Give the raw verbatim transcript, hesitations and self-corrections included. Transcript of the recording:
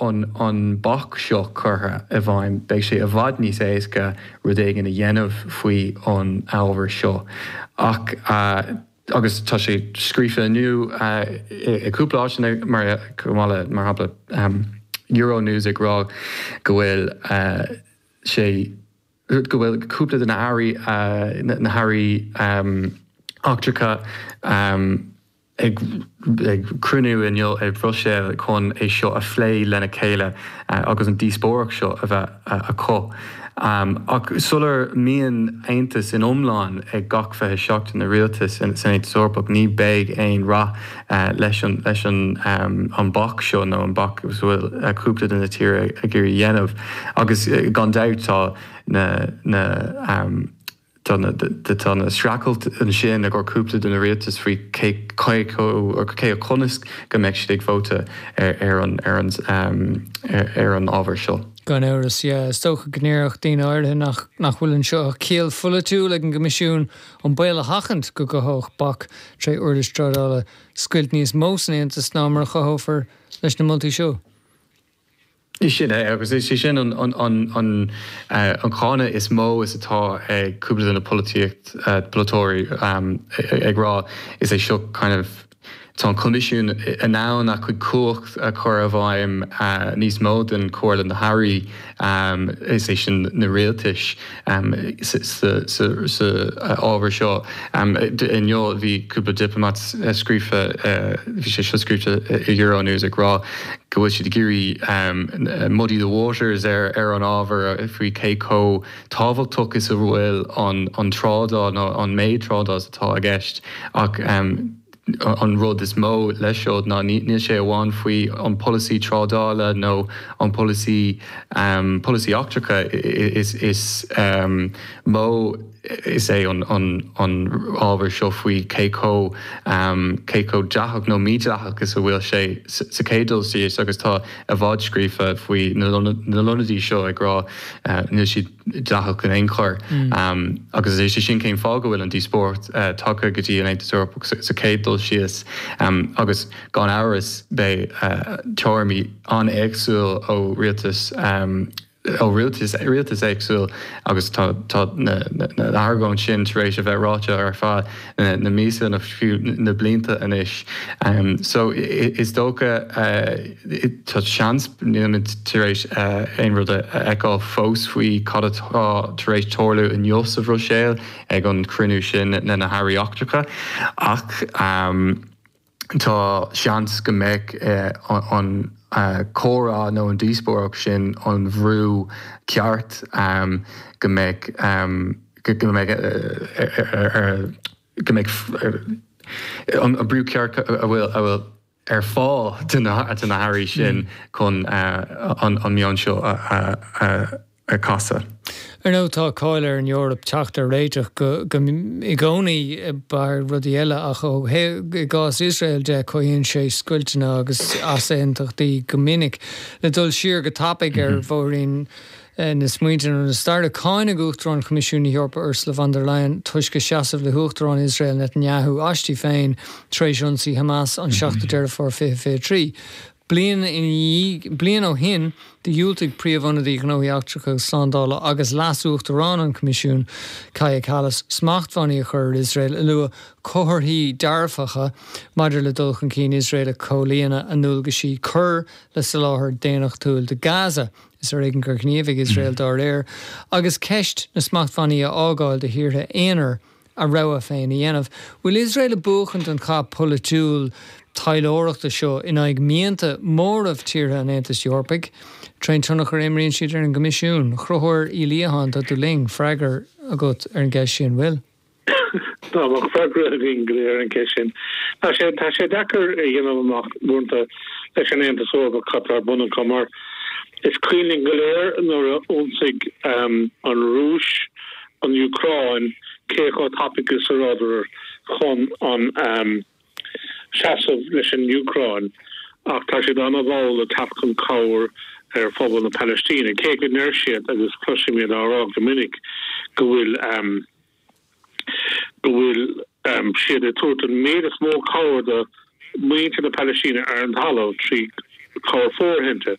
an an bac seo curtha i bhfeidhm, beidh sé i bhfad níos éasca rud éigin a dhéanamh faoi an ábhar seo. Ach uh, agus tá sé scríofa inniu uh, i cúpla áit mar mar shampla um, Euronews ag rá go bhfuil uh, sé go bhfuil cúpla de na hairí uh, na hairí um, eachtracha um, ag, ag cruinniú inniu ag Bruiséil chun é seo a phlé lena chéile uh, agus an díospóireacht seo a bheith uh, acu. Um, ach sula mbíonn aontas in iomlán ag gach fiche seacht na rialtas san Aontas Eorpach ní bheidh aon rath uh, leis an leis an um, an bac seo nó an bac bhfuil uh, cúpla de na tíortha ag iarraidh dhéanamh agus uh, gan dabht tá na na um, tá na streachailt ansin ag cúpla de na rialtais faoi cé cé conas go mbeidh siad ag vóta ar ar an ar an um, ar an ábhar seo. Gan amhras is dócha go ndéarfadh daoine áirithe nach nach bhfuil anseo ach ciall pholaitiúil ag an gCoimisiún an baol a sheachaint go gcothódh bac tré uirlis trádála scoilt níos mó san Aontas ná mar a chothófar leis na moltaí seo. Sin é agus is sin an an an an uh, an cáineadh is mó is atá ag cúpla de na polaitíocht uh, polaiteoirí um, ag rá is é seo kind of tá an Coimisiún in ann a chuid cumhacht a chur i bhfeidhm uh, níos mó den Chomhairle na hAirí um, is é sin na rialtais um, sa ábhar seo. Um, Inniu bhí cúpla diplomat scríofa bhí sé seo scríofa i Euronews ag rá go bhfuil siad ag iarraidh um, muddy the waters ar ar an ábhar faoi cé chomh tábhachtach is a bhfuil an an trádáil nó an méid trádáil atá i gceist ach um, an rud is mó leis seo ná níl sé amháin faoi an polasaí trádála nó an polasaí um, polasaí eachtracha is, is um, mó is é an, an, an ábhar seo faoi cé chomh um, cé chomh dleathach nó mídhleathach is a bhfuil sé sa chéad dul síos agus tá i bhfad scríofa faoi na lonadaí seo ag rá uh, níl siad dleathach in aon chor mm. um, agus é sin cén fáth go bhfuil an díospóireacht uh, tagtha go dtí an Aontas Eorpach sa chéad dul síos um, agus gan amhras beidh uh, tuairimí an-éagsúil ó rialtas um, ó rialtas rialtas éagsúil agus tá na, na, na argóint sin tar éis a bheith ráite ar feadh na, na míosa na fiú na blianta anois. Um, so is dócha uh, tá seans nílimid tar éis uh, aon rud a fheiceáil fós faoi cad atá tar éis tarlú inniu sa Bhruiséil ag an cruinniú sin na na hairí eachtracha ach um, tá seans go mbeidh uh, an uh, comhrá nó an díospóireacht sin an bhrú ceart um, go mbeidh um, go mbeidh uh, go mbeidh an brú ceart a bhfuil a bhfuil ar fáil de na hairí sin mm. chun uh, an, an meon seo a, a, a, a chasadh. Ar ndóigh tá cáil ar an Eoraip teacht ar réiteach go, go i gcónaí bar rudaí eile ach ó i gcás Iosrael de cothaíonn sé scoilteanna agus easaontachtaí go minic le dul siar go tapaidh ar mhm. bhóithrín eh, na smaointe na staire cáineadh Uachtarán Choimisiún na hEorpa Ursula von der Leyen toisc a seasamh le hUachtarán Iosrael Netanyahu aisti féin tar éis ionsaí Hamas an seachtú Deireadh Fómhair fiche fiche trí. Bliain bliain ó shin dhiúltaigh príomhionadaí gnóthaí eachtracha slándála agus leas-uachtarán an Choimisiúin Kaja Kallas smachtbhannaí a chur ar Iosrael a lua comharthaí dearfacha maidir le dul chun cinn Iosrael a comhlíonadh a ndualgaisí cur le soláthar daonnachtúil do Gaza is ar éigean gur ghníomhaigh Iosrael dá réir, agus ceist na smachtbhannaí a fhágáil do thíortha aonair a rogha féin a dhéanamh. Bhfuil Iosrael ag buachan an cath polaitiúil taidhleoireachta seo in aghaidh mianta móramh tíortha an Aontais Eorpaigh, trén tionchar a imríonn siad ar an gCoimisiún, Chonchúr Uí Liatháin tá tú linn freagra agat ar an gceist sin bhfuil. Tá freagra againn go léir ar an gceist sin. Tá sé tá sé deacair a dhéanamh amach uaireanta leis an Aontas Eorpach cad tá ar bun acu mar is cuimhin go léir nuair a d'ionsaigh um, an Rúis an Úcráin cé chomh tapaidh is a bhíodar chun an um, seasamh leis an Úcráin ach tá siad an-mhall ag teacht chun cabhair ar phobal na Palaistíne. Cé go ndeir siad agus cloisimid á rá go minic go bhfuil um, go bhfuil um, siad ag tabhairt an méid is mó cabhair do mhuintir na Palaistíne ar an talamh trí cabhair fóirithinte.